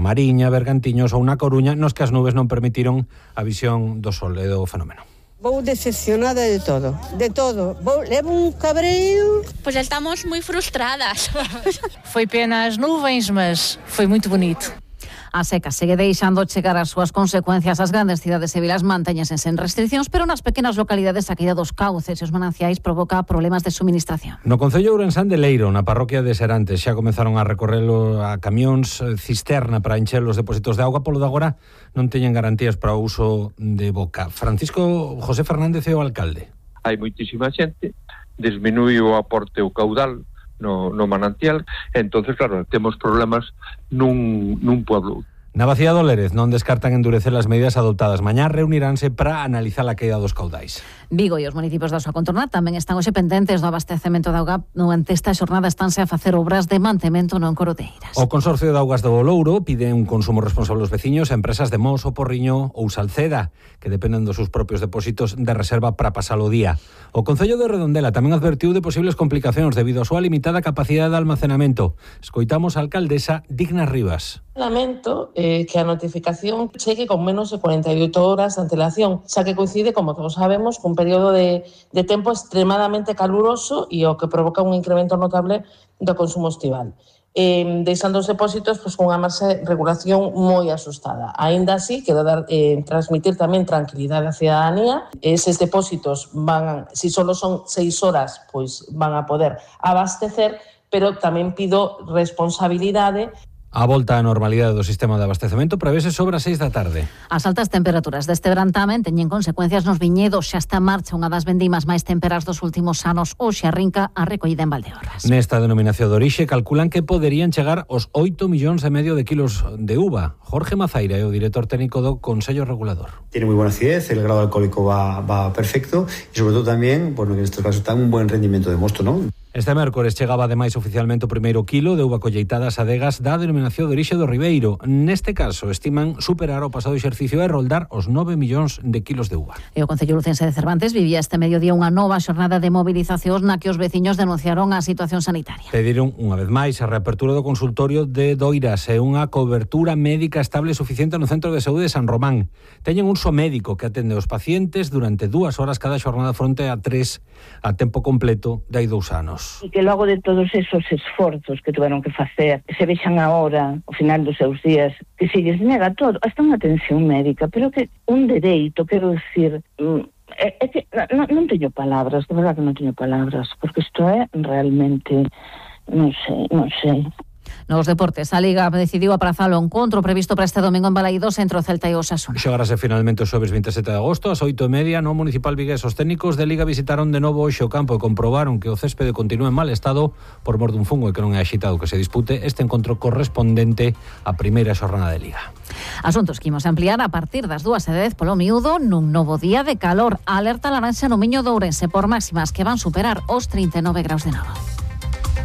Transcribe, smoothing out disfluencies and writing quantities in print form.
Mariña, Bergantiños ou na Coruña, nos que as nubes non permitiron a visión do sol e do fenómeno. Vou decepcionada de todo. Levo un cabreiro. Pois estamos moi frustradas. Foi pena as nuvens, mas foi muito bonito. A seca segue deixando chegar as súas consecuencias. As grandes cidades e vilas mantéñense sen restriccións, pero nas pequenas localidades a caída dos cauces e os mananciais provoca problemas de suministración. No concello ourensán de Leiro, na parroquia de Serantes, xa comenzaron a recorrelo a camións cisterna para encher os depósitos de auga. Polo de agora non teñen garantías para o uso de boca. Francisco José Fernández é o alcalde. Hai moitísima xente, disminuí o aporte o caudal no manantial, entonces claro, temos problemas nun pueblo. Na Bacía do Lérez non descartan endurecer as medidas adoptadas. Mañá reuniránse para analizar a caída dos caudais. Vigo e os municipios da súa contorna tamén están hoxe pendentes do abastecemento de auga. Durante esta xornada estánse a facer obras de mantemento non Coroteiras. O Consorcio de Augas do Louro pide un consumo responsable aos veciños a empresas de Mos, o Porriño ou Salceda, que dependen dos seus propios depósitos de reserva para pasar o día. O Concello de Redondela tamén advertiu de posibles complicacións debido á súa limitada capacidade de almacenamento. Escoitamos a alcaldesa Digna Rivas. Lamento que a notificación chegue con menos de 48 horas de antelación, xa que coincide, como todos sabemos, cun período de tempo extremadamente caluroso e o que provoca un incremento notable do consumo estival. Deixando os depósitos cunha marxe de regulación moi asustada. Aínda así, quero transmitir tamén tranquilidade á cidadanía. Eses depósitos se só son 6 horas, pois van a poder abastecer, pero tamén pido responsabilidade. A volta á normalidade do sistema de abastecemento prevese sobre as 6 da tarde. As altas temperaturas deste verán tamén teñen consecuencias nos viñedos. Xa está en marcha unha das vendimas máis temperas dos últimos anos. Hoxe arrinca a recollida en Valdeorras. Nesta denominación de orixe calculan que poderían chegar aos 8,5 millóns de kilos de uva. Jorge Mazaira é o director técnico do Consello Regulador. Tiene muy buena acidez, el grado alcohólico va perfecto y sobre todo tamén, bueno, que en estos casos está un buen rendimiento de mosto, ¿no? Este mércores chegaba ademais oficialmente o primeiro kilo de uva colleitada ás adegas da denominación de orixe do Ribeiro. Neste caso, estiman superar o pasado exercicio e roldar os 9 millóns de kilos de uva. E o Concello lucense de Cervantes vivía este mediodía unha nova xornada de movilizacións na que os veciños denunciaron a situación sanitaria. Pediron unha vez máis a reapertura do consultorio de Doiras e unha cobertura médica estable e suficiente no Centro de Saúde de San Román. Teñen un só médico que atende os pacientes durante 2 horas cada xornada fronte a 3 a tempo completo de hai 2 anos. E que logo de todos esos esforzos que tuveron que facer, se vexan agora, ao final dos seus días, que se lles nega todo, hasta unha atención médica, pero que un dereito, quero dicir, é que non teño palabras, de verdade que non teño palabras, porque isto é realmente, non sei. Nos deportes, a Liga decidiu aprazar o encontro previsto para este domingo en Balaídos entre o Celta e o Osasuna. Xogarase finalmente o xoves 27 de agosto ás 8:30 no Municipal Vigués. Os técnicos de Liga visitaron de novo hoxe o campo e comprobaron que o céspede continúa en mal estado por mor dun fungo e que non é axitado que se dispute este encontro correspondente á primeira xornada de Liga. Asuntos que imos ampliar a partir das 2:10 polo miúdo nun novo día de calor. Alerta laranxa no Miño de Ourense por máximas que van superar os 39 graus de Nova.